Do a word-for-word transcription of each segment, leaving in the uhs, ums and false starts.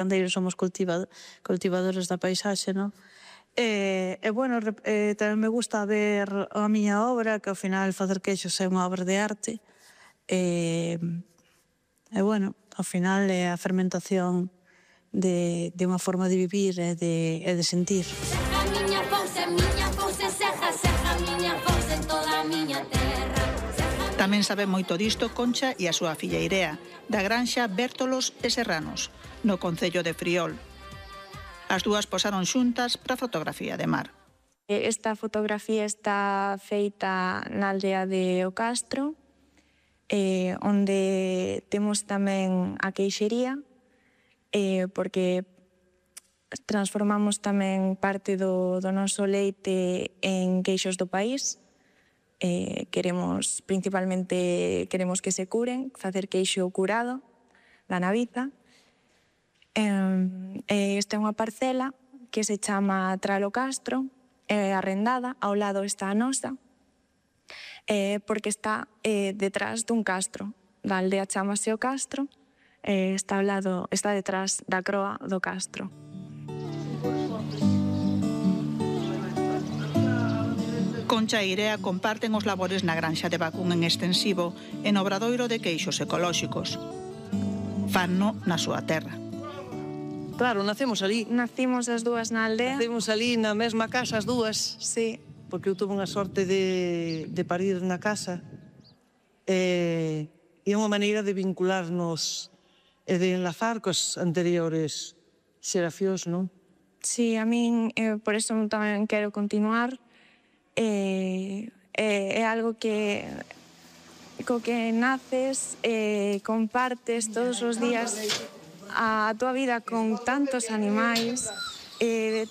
gandeiros somos cultiva, cultivadores da paisaxe, non? E, e bueno, e, tamén me gusta ver a miña obra, que ao final facer queixos é unha obra de arte. E, e bueno, ao final é a fermentación de, de unha forma de vivir e de, e de sentir. Serra miña fousa, miña fousa, serra, serra miña fousa en toda a miña terra. Tamén sabe moito disto Concha e a súa filla Irea, da granxa Bértolos e Serranos, no concello de Friol. As dúas posaron xuntas para a fotografía de mar. Esta fotografía está feita na aldea de O Castro, eh, onde temos tamén a queixería, eh, porque transformamos tamén parte do, do noso leite en queixos do país. Eh, queremos, principalmente, queremos que se curen, facer queixo curado da naviza. Eh, esta é unha parcela que se chama Tralo Castro, é arrendada, ao lado está a nosa, eh, porque está eh, detrás dun castro. Da aldea chamase O Castro, eh, está ao lado, está detrás da croa do castro. Concha e Irea comparten os labores na granxa de Vacún en extensivo e no obradoiro de queixos ecolóxicos. Fanno na súa terra. Claro, nacemos ali. Nacimos as dúas na aldea. Nacemos ali na mesma casa as dúas. Sí. Porque eu tuve unha sorte de, de parir na casa. E, e é unha maneira de vincularnos e de enlazar cos anteriores xeracións, non? Sí, a min, eh, por eso tamén quero continuar. Eh, eh, é algo que co que naces, eh, compartes todos os días a túa vida con tantos animais. Eh,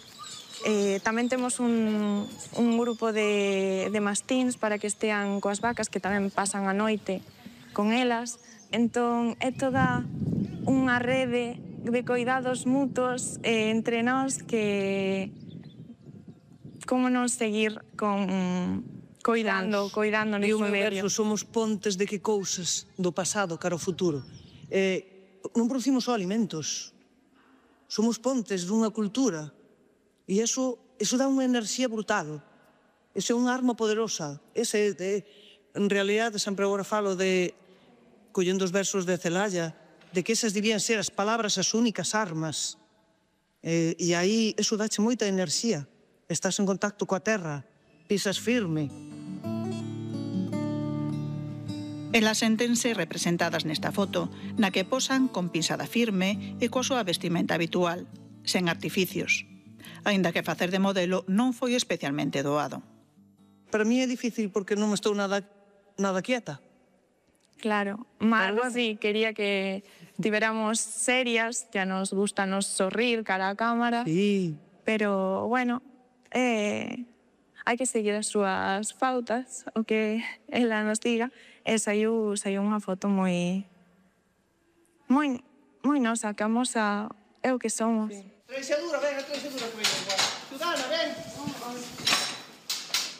eh, tamén temos un, un grupo de, de mastíns para que estean coas vacas, que tamén pasan a noite con elas. Entón, é toda unha rede de coidados mutuos eh, entre nós que... Como non seguir con coidando, coidando neste medio. Somos pontes de que cousas do pasado cara ao futuro. Eh, non producimos só alimentos. Somos pontes dunha cultura. E iso, iso dá unha enerxía brutal. Iso é unha arma poderosa. Ese, de, en realidade, sempre agora falo de, collendo os versos de Celaya, de que esas debían ser as palabras as únicas armas. Eh, e aí, iso dache moita enerxía. Estás en contacto coa terra, pisas firme. Elas séntense representadas nesta foto, na que posan con pisada firme e coa súa vestimenta habitual, sen artificios. Aínda que facer de modelo non foi especialmente doado. Para mí é difícil porque non estou nada, nada quieta. Claro, Mar, sí, quería que estiveramos serias, ya nos gusta nos sorrir cara a cámara. Sí. Pero, bueno... Eh, hai que seguir as súas pautas, o que ela nos diga, e saiu, saiu unha foto moi moi, moi nosa, que amosa é o que somos. Treixadura, ven, treixadura, Ciudadana, ven.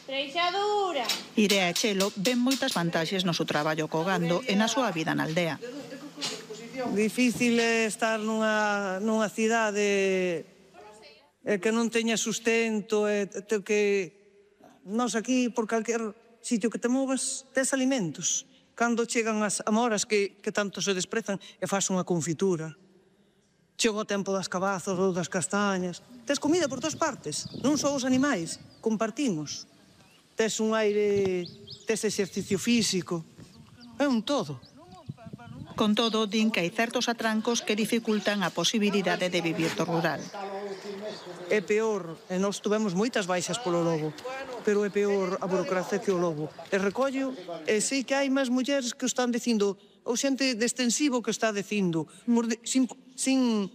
Treixadura. Irea e Chelo ven moitas vantaxes no seu traballo co gando e na súa vida na aldea. Difícil é estar nunha, nunha cidade e que non teña sustento, e te, que nós aquí, por calquer sitio que te movas, tes alimentos. Cando chegan as amoras que, que tanto se desprezan, e faz unha confitura. Chega o tempo das cabazos ou das castañas. Tes comida por todas partes, non só os animais, compartimos. Tes un aire, tes exercicio físico, é un todo. Con todo, din que hai certos atrancos que dificultan a posibilidade de vivir do rural. É peor, e nós tuvemos moitas baixas polo lobo, pero é peor a burocracia que o lobo. E recollo, e sei que hai máis mulleres que o están dicindo, ou xente de extensivo que está dicindo, sin, sin,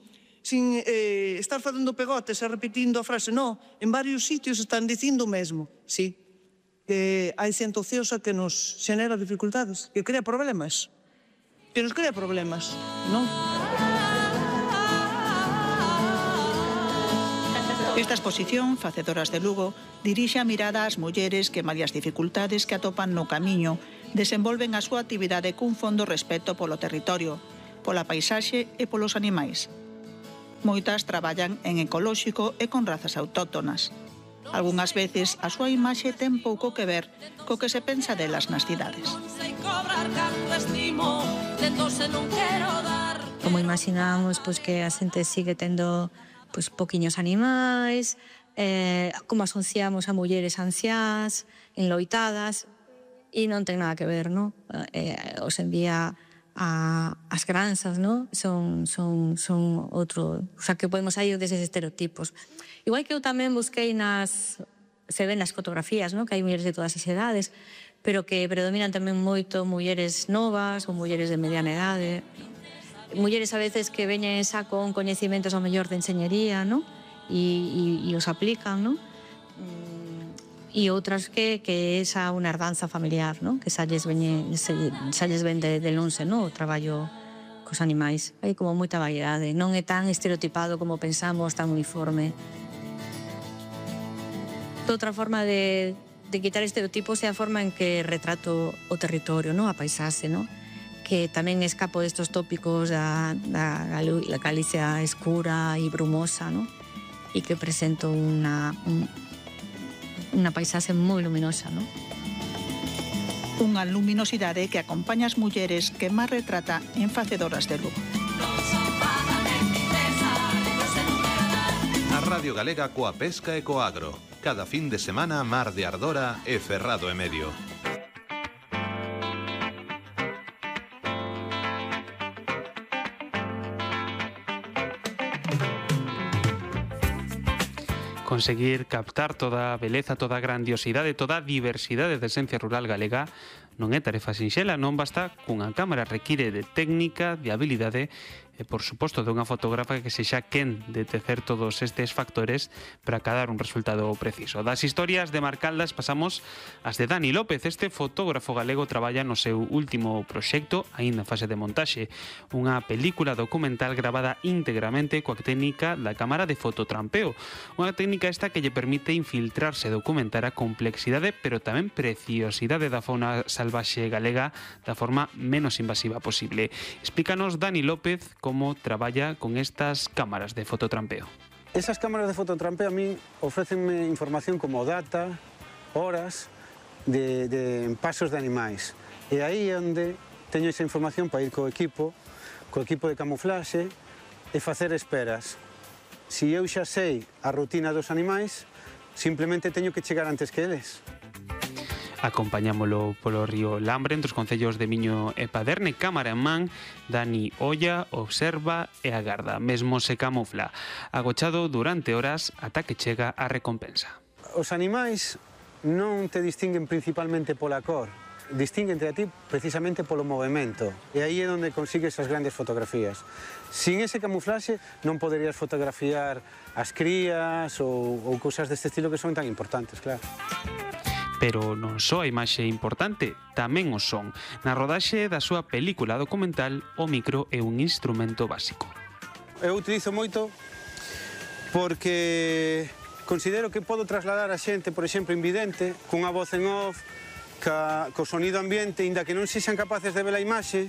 sin eh, estar facendo pegotes e repetindo a frase, no, en varios sitios están dicindo o mesmo, sí, que hai xente ociosa que nos xenera dificultades, que crea problemas, que nos crea problemas, non? Esta exposición, Facedoras de Lugo, dirixe a mirada ás mulleres que, malia as dificultades que atopan no camiño, desenvolven a súa actividade cun fondo respeto polo territorio, pola paisaxe e polos animais. Moitas traballan en ecolóxico e con razas autóctonas. Algunhas veces a súa imaxe ten pouco que ver co que se pensa delas nas cidades. Como imaginamos pois, que a xente sigue tendo pois, poquiños animais, eh, como asociamos a mulleres anciás, enloitadas, e non ten nada que ver, non? Eh, hoxe en día a, as granxas, non? Son, son, son outro... O sea, que podemos sair deses estereotipos. Igual que eu tamén busquei nas... Se ven nas fotografías, non? Que hai mulleres de todas as edades, pero que predominan tamén moito mulleres novas ou mulleres de mediana edade. Mulleres a veces que veñen xa con coñecimentos ao mellor de enxeñería, non? E, e, e os aplican, non? E outras que, que é xa unha herdanza familiar, non? Que xa lles, veñe, xa lles ven de, de lonxe, non? O traballo cos animais. Hai como moita variedade, non é tan estereotipado como pensamos, tan uniforme. Outra forma de, de quitar estereotipos é a forma en que retrato o territorio, non? A paisaxe, non? Que tamén escapo destos tópicos da, da, da Galicia escura e brumosa, non? E que presento unha... Un, unha paisaxe moi luminosa, non? Unha luminosidade que acompaña as mulleres que máis retrata en Facedoras de Lugo. A Radio Galega coa pesca e co agro. Cada fin de semana Mar de Ardora e Ferrado e Medio. Conseguir captar toda a beleza, toda a grandiosidade, toda a diversidade da esencia rural galega non é tarefa sinxela, non basta cunha cámara, require de técnica, de habilidade e, por suposto, dunha fotógrafa que sexa quen de tecer todos estes factores para cadar un resultado preciso. Das historias de Mar Caldas pasamos ás de Dani López. Este fotógrafo galego traballa no seu último proxecto, aínda en fase de montaxe, unha película documental gravada íntegramente coa técnica da cámara de fototrampeo. Unha técnica esta que lle permite infiltrarse e documentar a complexidade, pero tamén preciosidade da fauna salvaxe galega da forma menos invasiva posible. Explícanos, Dani López, como traballa con estas cámaras de fototrampeo. Esas cámaras de fototrampeo a min ofrécenme información como data, horas de, de pasos de animais. E aí é onde teño esa información para ir co equipo, co equipo de camuflaxe e facer esperas. Si eu xa sei a rutina dos animais, simplemente teño que chegar antes que eles. Acompañámolo polo río Lambre, entre os concellos de Miño e Paderne. Cámara en man, Dani olla, observa e agarda, mesmo se camufla, agochado durante horas ata que chega a recompensa. Os animais non te distinguen principalmente pola cor, distinguente a ti precisamente polo movimento, e aí é onde consigues as grandes fotografías. Sin ese camuflaxe non poderías fotografiar as crías ou, ou cousas deste estilo que son tan importantes, claro. Pero non só a imaxe importante, tamén o son. Na rodaxe da súa película documental, o micro é un instrumento básico. Eu utilizo moito porque considero que podo trasladar a xente, por exemplo, invidente, cunha voz en off, ca, co sonido ambiente, inda que non sexan capaces de ver a imaxe,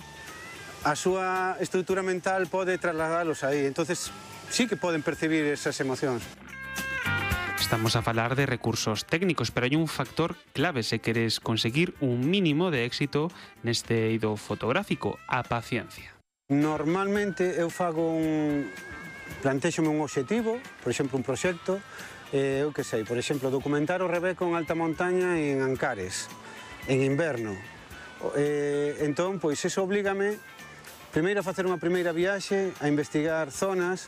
a súa estrutura mental pode trasladalos aí. Entonces, sí que poden percibir esas emocións. Estamos a falar de recursos técnicos, pero hai un factor clave se queres conseguir un mínimo de éxito neste eido fotográfico, a paciencia. Normalmente eu fago un... plantexome un obxectivo, por exemplo, un proxecto, eh, eu que sei, por exemplo, documentar o rebeco en alta montaña en Ancares, en inverno. Eh, entón, pois, eso oblígame primeiro a facer unha primeira viaxe, a investigar zonas,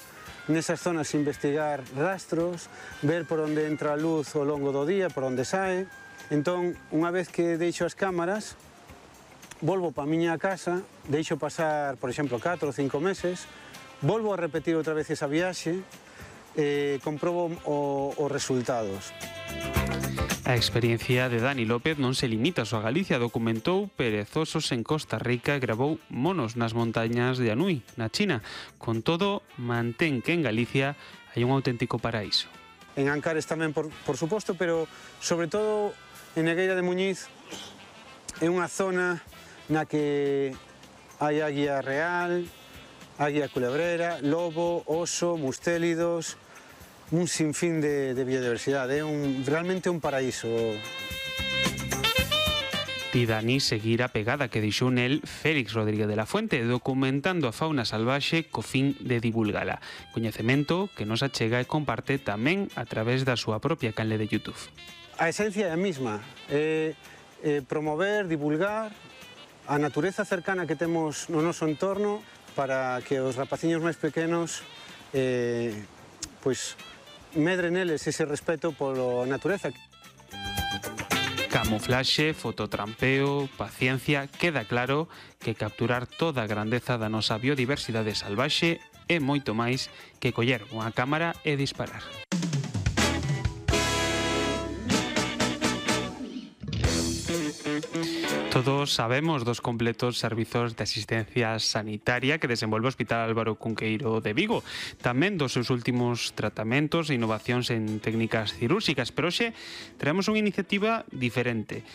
nesas zonas investigar rastros, ver por onde entra a luz ao longo do día, por onde sae. Entón, unha vez que deixo as cámaras, volvo pa miña casa, deixo pasar, por exemplo, catro ou cinco meses, volvo a repetir outra vez esa viaxe e comprobo o, os resultados. A experiencia de Dani López non se limita só a Galicia, documentou perezosos en Costa Rica e gravou monos nas montañas de Anhui, na China. Con todo, mantén que en Galicia hai un auténtico paraíso. En Ancares tamén, por, por suposto, pero sobre todo en Negueira de Muñiz é unha zona na que hai águia real, águia culebrera, lobo, oso, mustélidos, un sinfín de, de biodiversidade. É un, realmente un paraíso. Ti, Dani, seguir a pegada que deixou nel Félix Rodríguez de la Fuente, documentando a fauna salvaxe co fin de divulgala. Coñecemento que nos achega e comparte tamén a través da súa propia canle de YouTube. A esencia é a mesma, é, é promover, divulgar a natureza cercana que temos no noso entorno para que os rapaciños máis pequenos eh, pois, medren neles ese respeto pola natureza. Camuflaxe, fototrampeo, paciencia, queda claro que capturar toda a grandeza da nosa biodiversidade salvaxe é moito máis que coller unha cámara e disparar. Todos sabemos dos completos servizos de asistencia sanitaria que desenvolve o Hospital Álvaro Cunqueiro de Vigo, tamén dos seus últimos tratamentos e innovacións en técnicas cirúrxicas, pero hoxe traemos unha iniciativa diferente.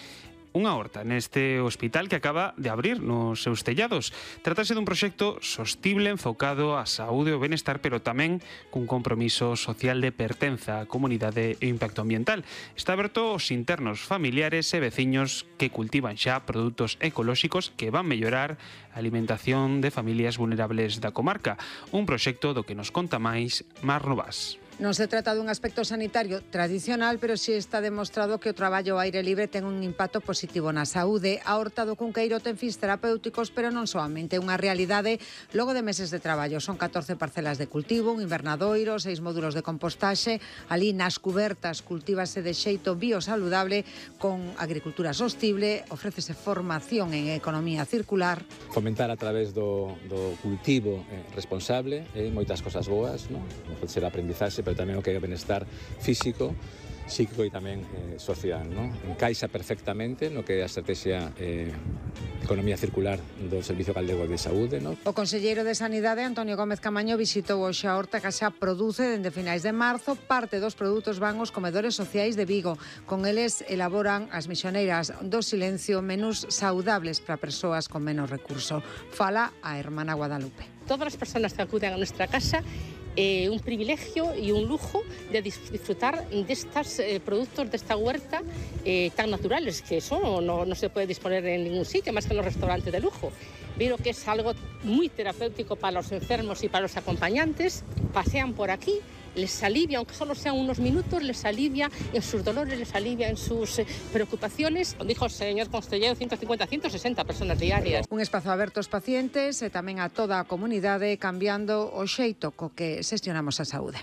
Unha horta neste hospital que acaba de abrir nos seus tellados. Trátase dun proxecto sostible enfocado á saúde e o benestar, pero tamén cun compromiso social de pertenza á comunidade e impacto ambiental. Está aberto aos internos, familiares e veciños que cultivan xa produtos ecolóxicos que van mellorar a alimentación de familias vulnerables da comarca. Un proxecto do que nos conta máis Mar Novas. Non se trata dun aspecto sanitario tradicional, pero si está demostrado que o traballo ao aire libre ten un impacto positivo na saúde. A horta do Cunqueiro ten fins terapéuticos, pero non soamente unha realidade logo de meses de traballo. Son catorce parcelas de cultivo, un invernadoiro, seis módulos de compostaxe. Ali nas cubertas cultívase de xeito biosaludable con agricultura sostible, ofrécese formación en economía circular. Fomentar a través do, do cultivo eh, responsable, eh, moitas cosas boas, non? Pode ser aprendizaxe, pero tamén o que é o benestar físico, psíquico e tamén eh, social, non? Encaixa perfectamente no que é a estrategia eh, economía circular do Servicio Galego de Saúde, non? O conselleiro de Sanidade, Antonio Gómez Camaño, visitou hoxe a horta que xa produce dende finais de marzo. Parte dos produtos van aos comedores sociais de Vigo. Con eles elaboran as misioneiras do silencio menús saudables para persoas con menos recurso. Fala a hermana Guadalupe. Todas as persoas que acuden a nuestra casa eh, un privilegio y un lujo de disfrutar de estos eh, productos de esta huerta eh, tan naturales, que eso no, no se puede disponer en ningún sitio, más que en los restaurantes de lujo. Veo que es algo muy terapéutico para los enfermos y para los acompañantes. Pasean por aquí, les alivia, aunque solo sean unos minutos, les alivia en sus dolores, les alivia en sus eh, preocupaciones. Dijo el señor constellero, ciento cincuenta a ciento sesenta personas diarias. Un espazo aberto aos pacientes e tamén a toda a comunidade, cambiando o xeito co que xestionamos a saúde.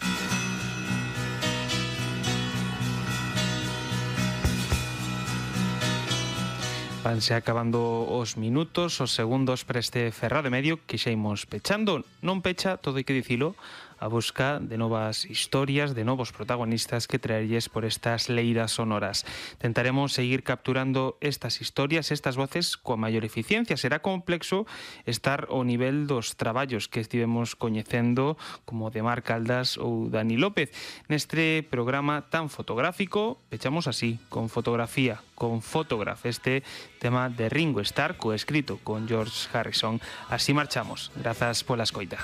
Vanse acabando os minutos, os segundos para este Ferrado e Medio que xa imos pechando. Non pecha, todo hai que dicilo, a busca de novas historias, de novos protagonistas que traerlles por estas leiras sonoras. Tentaremos seguir capturando estas historias, estas voces coa maior eficiencia. Será complexo estar ao nivel dos traballos que estivemos coñecendo, como de Mar Caldas ou Dani López. Neste programa tan fotográfico, pechamos así, con fotografía, con Photograph, este tema de Ringo Starr, coescrito con George Harrison. Así marchamos. Grazas pola escoita.